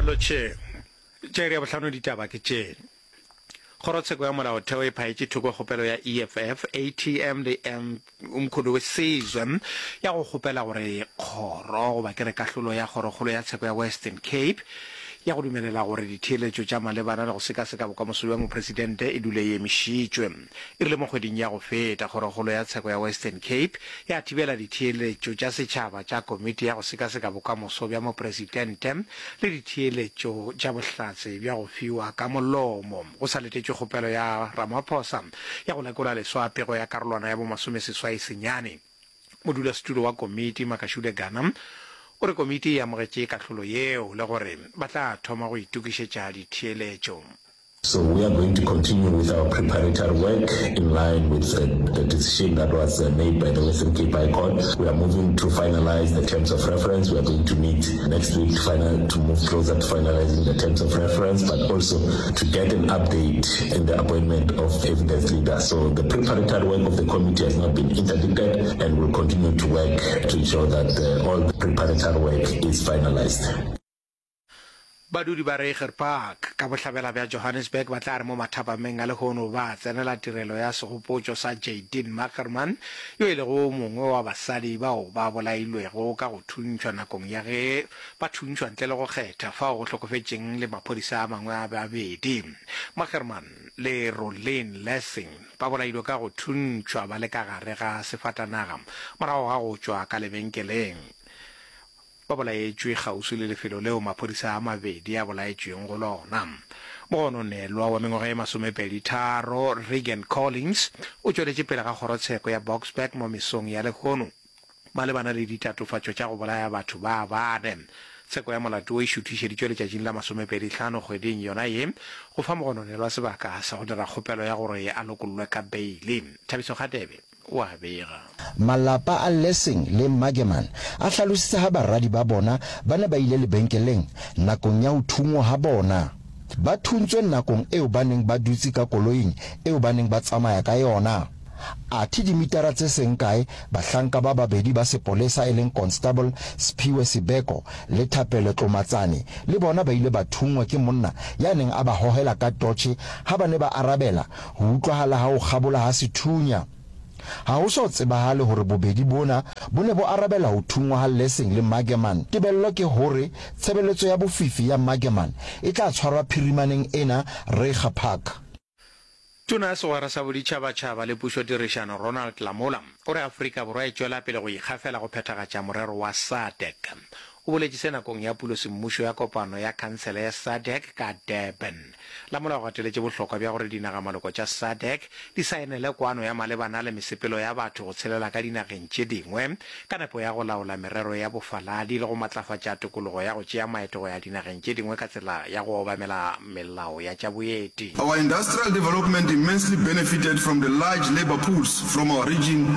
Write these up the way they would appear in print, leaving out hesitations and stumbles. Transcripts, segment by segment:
A re lotšheng. Tša iri ya bohlano ditaba ke tše. Kgorotsheko ya Molaotheo e phaetše thoko kgopelo ya EFF, ATM le Umkhonto we Sizwe ya go kgopela gore kgoro goba ke re kahlolo ya Kgorokgolo ya Tsheko ya Western Cape ya go dumelela gore ditheeletšo tša malebana le go sekaseka bokamoso bja mopresidente e dule e emišitšwe. E rile mo kgweding ya go feta, Kgorokgolo ya Tsheko ya Western Cape ya thibela ditheeletšo tša setšhaba tša komiti ya go sekaseka bokamoso bja mopresidente le ditheeletšo tša bohlatse bja go fiwa ka molomo go sa letetšwe kgopelo ya Ramaphosa ya go lekola leswa pego ya karolwana ya bomasomeseswai senyane. Modulasetulo wa komiti, Makashule Gana, o re komiti e amogetše kahlolo yeo le gore ba tla thoma go itokišetša ditheeletšo. So we are going to continue with our preparatory work in line with the, the decision that was uh, made by the Western Cape High Court. We are moving to finalize the terms of reference. We are going to meet next week to, final, to move closer to finalizing the terms of reference, but also to get an update in the appointment of evidence leader. So the preparatory work of the committee has not been interdicted and will continue to work to ensure that uh, all the preparatory work is finalized. Badudi ba Reiger Park, ka bohlabela bja Johannesburg ba tla re mo mathapameng a lehono ba tsenela tirelo ya segopotšo sa Jadine Magerman, yo e lego o mongwe wa basadi bao ba bolailwego ka go thuntšhwa nakong ya ge ba thuntšhwa ntle le go kgetha fao go hlokofetšeng le maphodisa a mangwe a babedi. Magerman le Rolene Lessing ba bolailwe ka go thuntšhwa ba le ka gare ga sefatanaga morago ga go tšwa ka lebenkeleng. Ba bolaetšwe kgauswi le lefelo leo maphodisa a mabedi a bolaetšweng go lona. Mogononelwa wa mengwaga ye masomepeditharo, Regan Collins, o tšweletše pele ga kgorotsheko ya Boksburg mo mesong ya lehono malebana le ditatofatšo tša go bolaya batho ba bane. Tsheko ya molato wo e šuthišeditšwe letšatšing la masomepedihlano kgweding yona ye go fa mogononelwa sebaka sa go dira kgopelo ya gore a lokollwe ka beili. Thabiso Kgatebe. o a bega. Malapa a Lessing le Magerman a hlalositse ha baradi ba bona ba ne ba ile lebenkeleng nakong ya ho thunngwa ha bona. Ba thuntswe nakong eo ba neng ba dutse ka koloing eo ba neng ba tsamaya ka yona. Athe dimitara tse seng kae, bahlanka ba babedi ba sepolesa e leng Constable Sphiwe Sibeko le Thapelo Tlomatsane le bona ba ile ba thunngwa ke monna ya neng a ba hohela ka totjhe ha ba ne ba arabela Ho utlwahala ha ho kgabola ha sethunya. Ha ho so tsebahale hore bobedi bona bo ne bo arabela ho thunngwa ha Lessing le Magerman. Tebello ke hore tshebeletso ya bofifi ya Magerman e tla tshwarwa phirimaneng ena Reiger Park. Tona ya Segwera sa Boditšhabatšhaba le Pušotirišano Ronald Lamola o re Afrika Borwa e tšwela pele go ikgafela go phethagatša morero wa SADC. O boletše se nakong ya pulosemmušo ya kopano ya khansele ya SADC ka Durban. Lamola o gateletše bohlokwa bja gore dinagamaloko tša SADC di saenele kwano ya malebana le mesepelo ya batho go tshelela ka dinageng tše dingwe ka nepo ya go laola merero ya bofaladi le go matlafatša tokologo ya go tšea maeto go ya dinageng tše dingwe ka tsela ya go obamela melao ya tša boeti. Our industrial development immensely benefited from the large labour pools from our region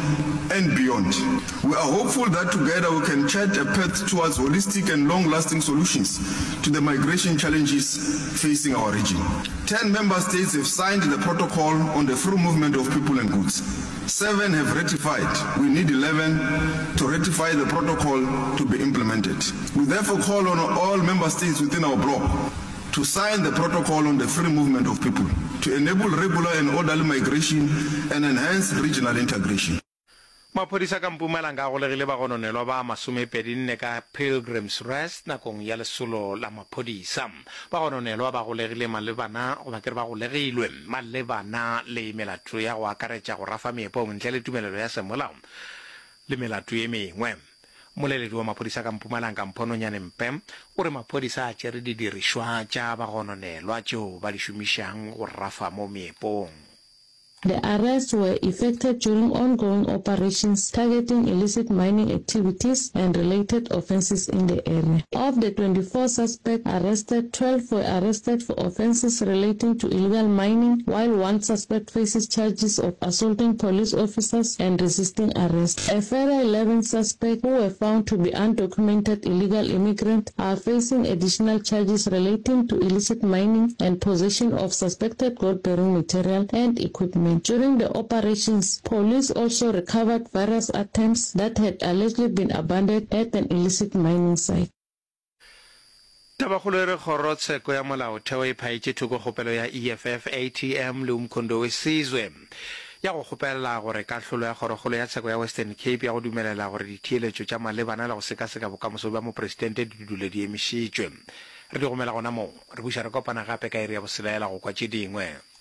and beyond. We are hopeful that together we can chart a path towards holistic and long-lasting solutions to the migration challenges facing our region. 10 member states have signed the protocol on the free movement of people and goods. Seven have ratified. We need 11 to ratify the protocol to be implemented. We therefore call on all member states within our bloc to sign the protocol on the free movement of people to enable regular and orderly migration and enhance regional integration. Maphodisa ka Mpumalanga a golegile bagononelwa ba masomepedinne ka Pilgrim's Rest nakong ya lesolo la maphodisa. Bagononelwa ba golegile malebana goba ke re ba golegilwe malebana le melato ya go akaretša go rafa meepong ntle le tumelelo ya semolao le melato ye mengwe. Mmoleledi wa maphodisa ka Mpumalanga Mpho Nonyane Mpe o re maphodisa a tšere didirišwa tša bagononelwa tšeo ba di šomišang go rafa mo meepong. The arrests were effected during ongoing operations targeting illicit mining activities and related offences in the area. Of the 24 suspects arrested, 12 were arrested for offences relating to illegal mining, while one suspect faces charges of assaulting police officers and resisting arrest. A further 11 suspects who were found to be undocumented illegal immigrants are facing additional charges relating to illicit mining and possession of suspected gold-bearing material and equipment. During the operations, police also recovered various items that had allegedly been abandoned at an illicit mining site. Tabakgolo e re Kgorotsheko ya Molaotheo e phaetše thoko kgopelo ya EFF, ATM le Umkhonto we Sizwe ya go kgopela gore kahlolo ya Kgorokgolo ya Tsheko ya Western Cape ya go dumelela gore ditheeletšo tša malebana le go sekaseka bokamoso bja mopresidente di dule di emišitšwe. Re di gomela gona moo. Re buša re kopana gape ka iri ya boselela go kwa tše dingwe.